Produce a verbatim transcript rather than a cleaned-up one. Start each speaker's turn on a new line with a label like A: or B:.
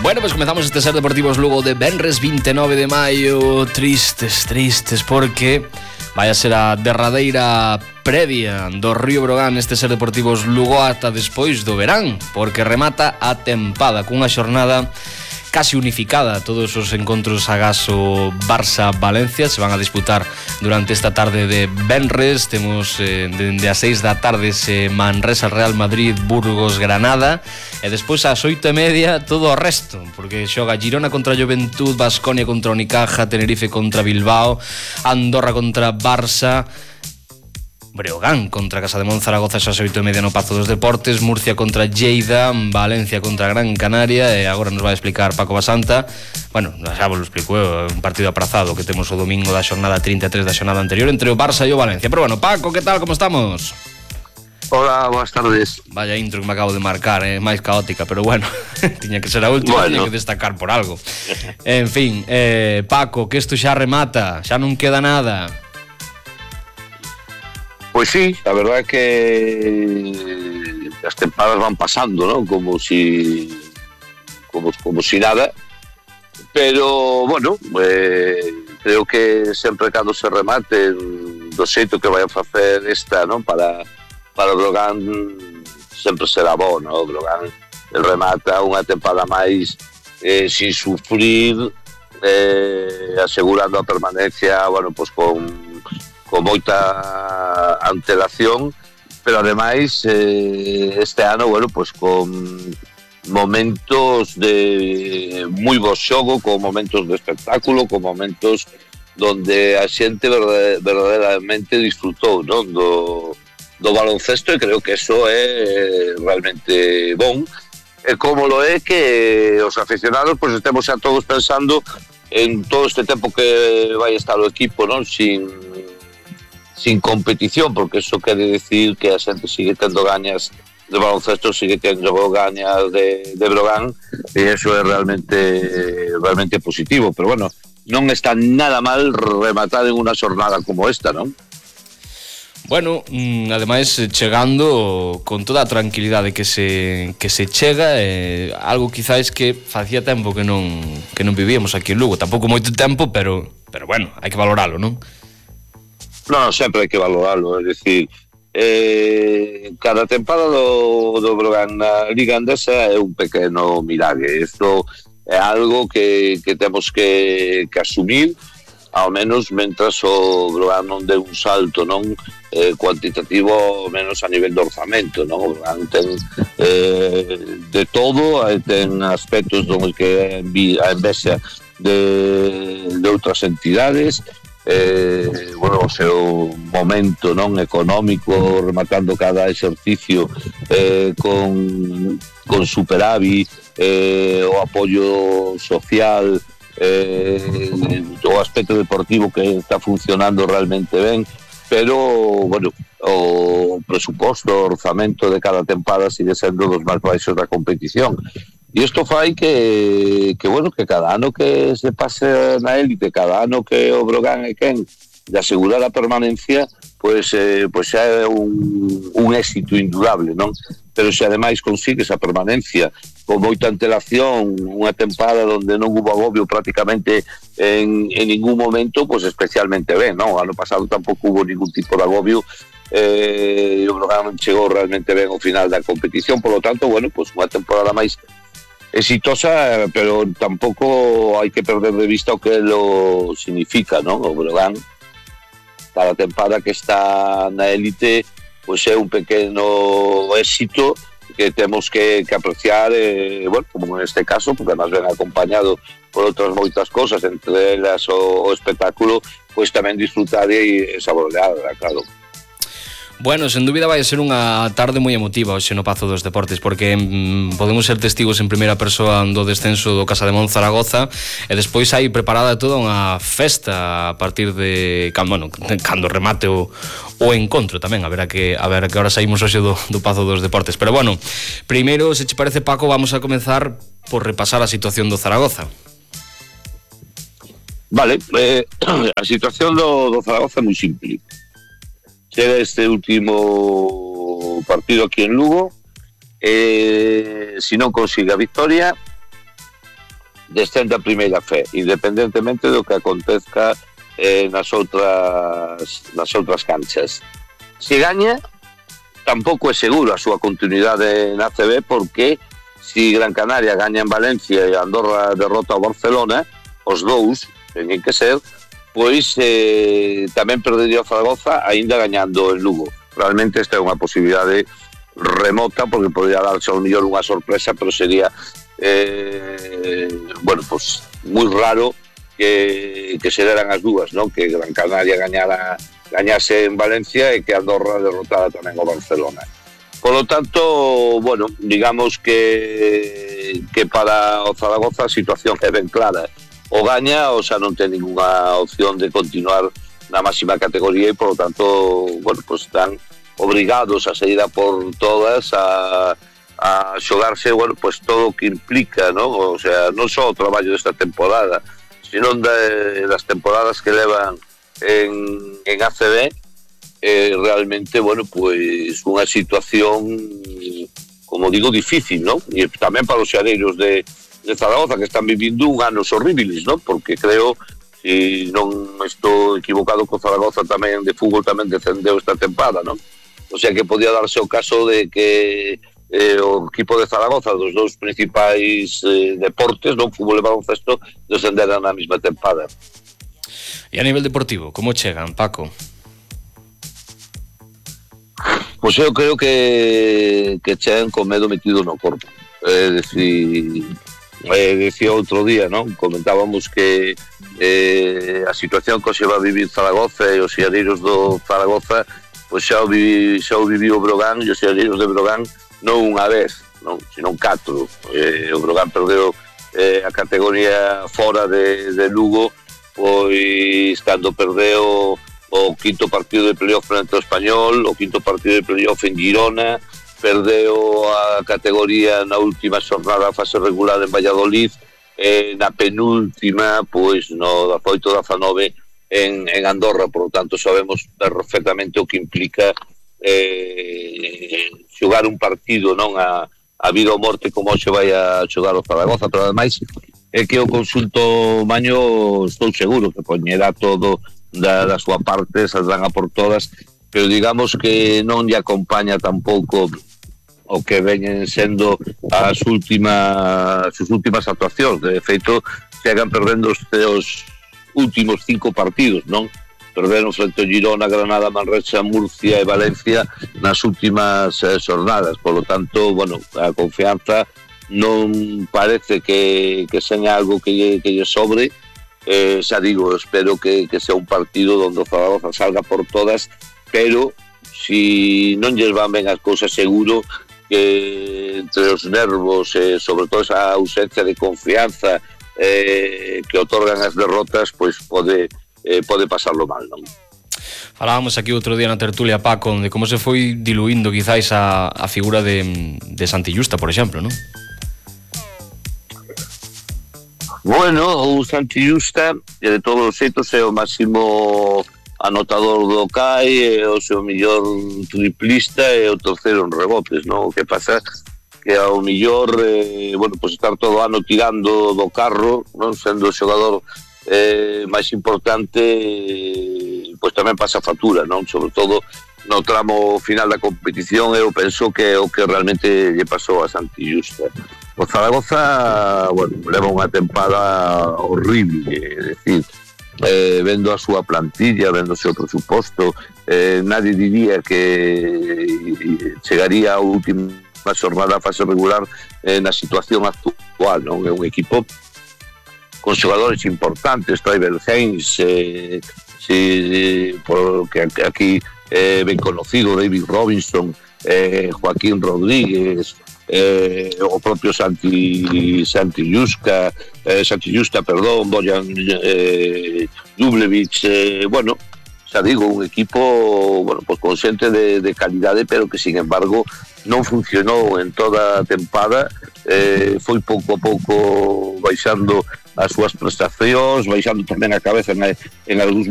A: Bueno, pues comezamos este Ser Deportivos Lugo de venres vinte e nove de maio. Tristes, tristes, porque vai a ser a derradeira previa do Río Brogan este Ser Deportivos Lugo ata despois do verán, porque remata a tempada cunha xornada casi unificada. Todos os encontros agaso Barça-Valencia se van a disputar durante esta tarde de venres. Temos eh, dende as seis da tarde se Manresa-Real Madrid, Burgos-Granada, e despois ás oito e media todo o resto, porque xoga Girona contra Juventud, Baskonia contra Unicaja, Tenerife contra Bilbao, Andorra contra Barça, Breogán contra Casa de Monzaragoza ás oito e media no Pazo dos Deportes, Murcia contra Lleida, Valencia contra Gran Canaria, e agora nos vai explicar Paco Basanta. Bueno, xa vos lo explico, é un partido aprazado que temos o domingo da xornada trinta e tres da xornada anterior entre o Barça e o Valencia. Pero bueno, Paco, que tal, como estamos?
B: Hola, boas tardes.
A: Vaya intro que me acabo de marcar, é eh, máis caótica, pero bueno, tiña que ser a última, bueno. Tiña que destacar por algo. En fin, eh, Paco, que isto xa remata, xa non queda nada.
B: Pues sí, la verdad es que las tempadas van pasando, ¿no? Como si, como, como si nada. Pero, bueno, eh, creo que sempre cando se remate do xeito que vai a facer esta, ¿no? Para, para o Brogan sempre será bo, ¿no? O Brogan remata unha tempada máis eh, sin sufrir, eh, asegurando a permanencia, bueno, pues con con moita antelación, pero ademais eh, este ano, bueno, pues con momentos de moi bo xogo, con momentos de espectáculo, con momentos donde a xente verdadeiramente disfrutou, non, do, do baloncesto, e creo que eso é realmente bon. E como lo é que os aficionados pues estemos xa todos pensando en todo este tempo que vai estar o equipo, non, sin sin competición, porque eso quere decir que a xente sigue tendo gañas de baloncesto, sigue tendo gañas de, de Brogan, e eso é realmente realmente positivo. Pero bueno, non está nada mal rematar en unha xornada como esta, non?
A: Bueno, ademais chegando con toda a tranquilidade que se que se chega, eh, algo quizáis que facía tempo que non que non vivíamos aquí en Lugo, tampouco moito tempo, pero pero bueno, hai que valoralo, non?
B: Non, sempre hai que valoralo, é dicir, eh, cada tempada do, do Brogan na Liga Andesa é un pequeno milagre. Isto é algo que, que temos que, que asumir, ao menos mentras o Brogan non dé un salto, non eh, cuantitativo, ao menos a nivel de orzamento, non? O Brogan ten eh, de todo, ten aspectos donde que a envexa de, de outras entidades. Eh, bueno, o seu momento non económico, rematando cada exercicio eh, con, con superávit, eh, o apoio social, eh, o aspecto deportivo que está funcionando realmente ben, pero bueno, o presuposto, o orzamento de cada tempada sigue sendo dos máis baixos da competición. E isto fai que, que, bueno, que cada ano que se pase na élite, cada ano que o Brogan é quen de asegurar a permanencia, pois, eh, pois xa é un, un éxito indudable, non? Pero se ademais consigue esa permanencia con moita antelación, unha tempada onde non hubo agobio prácticamente en, en ningún momento, pois especialmente ben, non? O ano pasado tampouco hubo ningún tipo de agobio, eh, e o Brogan chegou realmente ben ao final da competición. Por lo tanto, bueno, pois unha temporada máis exitosa, pero tampouco hai que perder de vista o que lo significa, non? O Brogan, cada tempada que está na élite, pois é un pequeno éxito que temos que, que apreciar, eh, bueno, como neste caso, porque además ven acompañado por outras moitas cosas, entre elas o, o espectáculo, pois tamén disfrutar e saborear, claro.
A: Bueno, sen dúbida vai ser unha tarde moi emotiva hoxe no Pazo dos Deportes, porque mm, podemos ser testigos en primeira persoa do descenso do Casa de Monzaragoza, e despois hai preparada toda unha festa a partir de cando, bueno, cando remate o, o encontro tamén, a ver a que, a ver a que hora saímos hoxe do, do Pazo dos Deportes. Pero bueno, primeiro, se che parece, Paco, vamos a comenzar por repasar a situación do Zaragoza.
B: Vale, eh, a situación do, do Zaragoza é moi simple. Chega este último partido aquí en Lugo, eh, si non consigue a victoria, descende a primeira fe, independentemente do que acontezca eh, nas outras nas outras canchas. Se gaña, tampouco é seguro a súa continuidade na A C B, porque se Gran Canaria gaña en Valencia e Andorra derrota o Barcelona, os dous teñen que ser, pois eh, tamén perdería o Zaragoza aínda gañando en Lugo. Realmente esta é unha posibilidade remota, porque podría darse ao mellor unha sorpresa, pero sería eh, bueno, pues moi raro que, que se deran as dúas, ¿no? Que Gran Canaria gañara, gañase en Valencia e que Andorra derrotara tamén o Barcelona. Por lo tanto, bueno, digamos que que para o Zaragoza a situación é ben clara. O gaña, o xa non ten ninguna opción de continuar na máxima categoría e, por lo tanto, bueno, pues están obrigados a sair a por todas, a, a xogarse, bueno, pues todo o que implica, ¿no? O sea, non só o traballo desta temporada, sino de, das temporadas que levan en, en A C B, eh, realmente, bueno, pues unha situación, como digo, difícil, ¿no? E tamén para os xadeiros de, de Zaragoza, que están vivindo un anos horribles, ¿no? Porque creo, se non estou equivocado, co Zaragoza tamén de fútbol tamén descendeu esta tempada, ¿no? O sea que podía darse o caso de que eh, o equipo de Zaragoza, dos dous principais eh, deportes, non, fútbol e baloncesto, descenderan na mesma tempada.
A: E a nivel deportivo, como chegan, Paco?
B: Pois eu creo que que chegan con medo metido no corpo. É dicir, eh, decía outro día, non? Comentábamos que eh, a situación que se va a vivir Zaragoza e os xadeiros do Zaragoza, pois xa o, vivi, xa o viviu o Brogan e os xadeiros de Brogan non unha vez, non, sino catro. Eh, o Brogan perdeu eh, a categoría fora de, de Lugo, pois cando perdeu o quinto partido de playoff frente ao Español, o quinto partido de playoff en Girona, perdeu a categoría na última xornada fase regular en Valladolid, eh, na penúltima, pois no dezaoito dezanove en, en Andorra. Por lo tanto, sabemos perfectamente o que implica eh, xogar un partido, non a, a vida ou morte como se vai a xogar o Zaragoza, pero ademais é que o consulto Maño estou seguro que poñerá todo da, da súa parte, saldrán a por todas, pero digamos que non lle acompaña tampouco o que veñen sendo as últimas as últimas actuacións. De feito, chegan perdendo os seus últimos cinco partidos, non? Perderon frente ao Girona, Granada, Manresa, Murcia e Valencia nas últimas eh, xornadas. Por lo tanto, bueno, a confianza non parece que, que seña algo que lle, que lle sobre. Eh, xa digo, espero que, que sea un partido donde o Zaragoza salga por todas, pero si non lles van ben as cousas, seguro que entre os nervos, eh, sobre todo esa ausencia de confianza eh, que otorgan as derrotas, pois pode, eh, pode pasarlo mal, non?
A: Falábamos aquí outro día na tertulia, Paco, de como se foi diluindo quizáis a, a figura de, de Santi Justa, por exemplo, non?
B: Bueno, o Santi Justa, que de todos os xeitos é o máximo anotador do C A I, é o seu millor triplista e o terceiro en rebotes, non? O que pasa que ao millor, eh, bueno, pues estar todo ano tirando do carro, non? Sendo o xogador eh, máis importante, eh, pois tamén pasa factura, non? Sobre todo no tramo final da competición, eu penso que é o que realmente lle pasou a Santi Justa. O Zaragoza, bueno, leva unha tempada horrible, é dicir, eh, vendo a súa plantilla, vendo o seu presuposto, eh, nadie diría que chegaría a última xornada a fase regular eh, na situación actual, non? É un equipo con xogadores importantes, Tribal Haynes, eh, si, porque aquí eh, ben conocido, David Robinson, eh, Joaquín Rodríguez, eh, o propio Santi Santi Justa, eh, Santi Justa, perdón, Bojan eh, Dublevich, eh, bueno, xa digo, un equipo, bueno, pues con xente de, de calidade, pero que sin embargo non funcionou en toda a tempada, eh, foi pouco a pouco baixando as súas prestacións, baixando tamén a cabeza en, en algúns